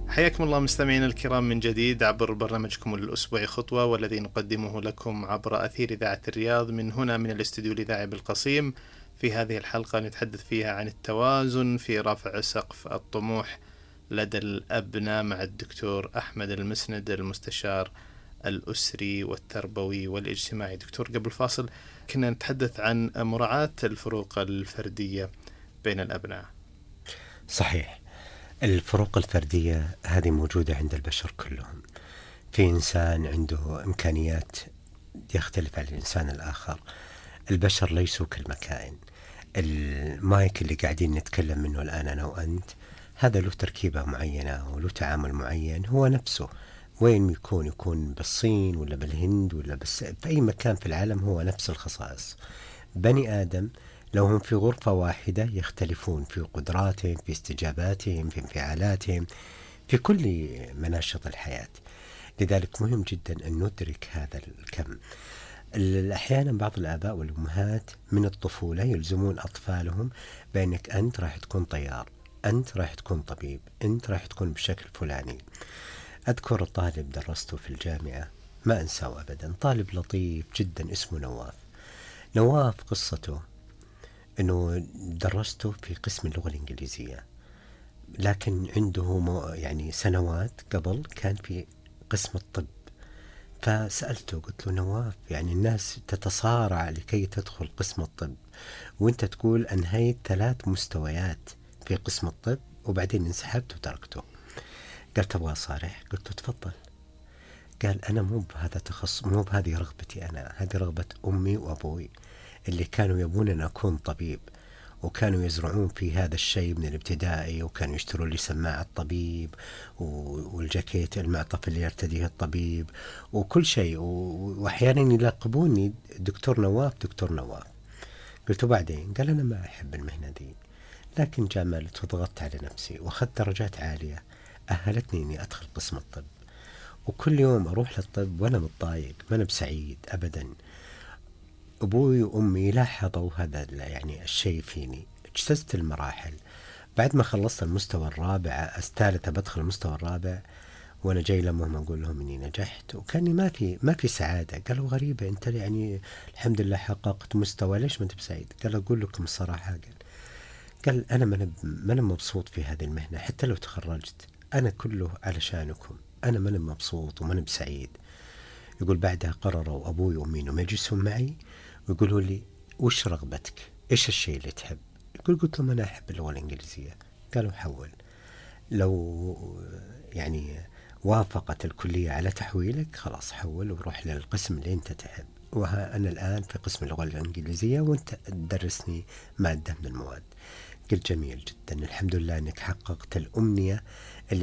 حياكم الله مستمعينا الكرام من جديد عبر برنامجكم الأسبوعي خطوة، والذي نقدمه لكم عبر أثير إذاعة الرياض من هنا من الاستوديو الإذاعي بالقصيم. في هذه الحلقة نتحدث فيها عن التوازن في رفع سقف الطموح لدى الأبناء مع الدكتور أحمد المسند، المستشار الأسري والتربوي والاجتماعي. دكتور، قبل فاصل كنا نتحدث عن مراعاة الفروق الفردية بين الأبناء. صحيح، الفروق الفردية هذه موجودة عند البشر كلهم. في إنسان عنده إمكانيات يختلف عن الإنسان الآخر. البشر ليسوا كالمكائن. المايك اللي قاعدين نتكلم منه الآن أنا وأنت، هذا له تركيبة معينة وله تعامل معين، هو نفسه وين يكون بالصين ولا بالهند ولا في أي مكان في العالم هو نفس الخصائص. بني آدم لو هم في غرفة واحدة يختلفون في قدراتهم، في استجاباتهم، في انفعالاتهم، في كل مناشط الحياة. لذلك مهم جدا أن ندرك هذا الكم. أحيانا بعض الآباء والأمهات من الطفولة يلزمون أطفالهم بأنك أنت راح تكون طيار، أنت راح تكون طبيب، أنت راح تكون بشكل فلاني. أذكر طالب درسته في الجامعة ما أنساه أبدا، طالب لطيف جدا اسمه نواف. قصته أنه درسته في قسم اللغة الإنجليزية، لكن عنده يعني سنوات قبل كان في قسم الطب. فسألته قلت له نواف، يعني الناس تتصارع لكي تدخل قسم الطب، وانت تقول أنهيت 3 مستويات في قسم الطب وبعدين انسحبت وتركته. قال تبغى صارح؟ قلت له تفضل. قال أنا مو بهذا تخصص، مو بهذه رغبتي أنا، هذه رغبة أمي وأبوي اللي كانوا يبون أن أكون طبيب، وكانوا يزرعون في هذا الشيء من الابتدائي، وكانوا يشترون لي سماعة طبيب والجاكيت المعطف اللي يرتديه الطبيب وكل شيء، وأحيانا يلقبوني دكتور نواف دكتور نواف. قلت بعدين؟ قال أنا ما أحب المهنة دي، لكن جاملت وضغطت على نفسي وأخذت درجات عالية أهلتني أني أدخل قسم الطب، وكل يوم أروح للطب وأنا متضايق، ما أنا بسعيد أبدا. أبوي وأمي لاحظوا هذا يعني الشيء فيني. اجتزت المراحل، بعد ما خلصت المستوى الرابع الثالث بدخل المستوى الرابع وأنا جاي لهم أقول لهم إني نجحت، وكاني ما في سعادة. قالوا غريبة أنت يعني الحمد لله حققت مستوى، ليش ما أنت بسعيد؟ قال أقول لكم الصراحة، قال أنا ما أنا مبسوط في هذه المهنة، حتى لو تخرجت أنا كله علشانكم، أنا ما أنا مبسوط وما أنا بسعيد. يقول بعدها قرروا أبوي وأمي إنهم يجلسون معي ويقولوا لي وش رغبتك؟ إيش الشيء اللي تحب؟ قلت لهم أنا أحب اللغة الإنجليزية. قالوا حول، لو يعني وافقت الكلية على تحويلك خلاص حول وروح للقسم اللي أنت تحب، وها أنا الآن في قسم اللغة الإنجليزية وأنت تدرسني مادة من المواد. قلت جميل جدا، الحمد لله أنك حققت الأمنية اللي